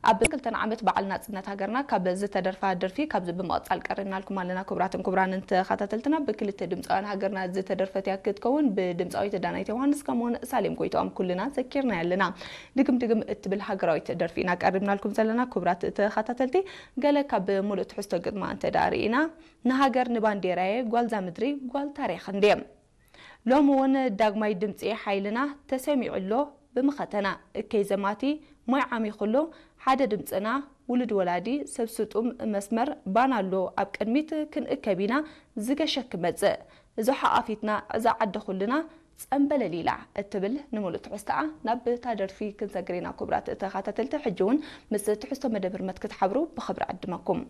ኣብ ክልተና ዓመት በዓል ናጽነት ሃገርና ካብ ዝተደርፋ ደርፊ ካብዚ ብምቕጻል ቀሪብናልኩም ኣለና። ክቡራትን ክቡራንን ተኸታተልትና፣ ብክልተ ድምፃውያን ሃገርና ዝተደርፈት እያ ክትከውን። ብድምፃዊት ዳናይት ዮሃንስ ከምኡውን ሳሌም ጎይትኦም ኩልና ዘኪርና ኣለና። ድግም ድግም እትብል ሃገራዊት ደርፊ ኢና ቀሪብናልኩም ዘለና። ክቡራት ተኸታተልቲ፣ ገለ ካብ ሙሉእ ትሕዝቶ ግጥማ እንተ ደኣ ርኢና፣ ንሃገር ንባንዴራየ ጓልዛ ምድሪ ጓል ታሪኽ እንድየ። ሎሚ እውን ዳግማይ ድምፂ ሓይልና ተሰሚዑ ኣሎ። ብምኸተና እከይ ዘማቲ ማይ ዓሚኹ ኣሎ። ሓደ ድምፅና ውሉድ ወላዲ ሰብ ስጡም መስመር ባና ኣሎ። ኣብ ቅድሚት ክንእከብ ኢና ዝገሸ ክመፅእ። እዚ ሓቓፊትና እዛ ዓዲ ኩልና ጸንበለል ኢላ እትብል ንምሉእ ትሕዝቶኣ ናብ እታ ደርፊ ክንሰግር ኢና። ክቡራት ተኸታተልቲ፣ ሕጂ እውን ምስ ትሕዝቶ መደብ ህርመት ክትሓብሩ ብኽብሪ ዕድመኩም።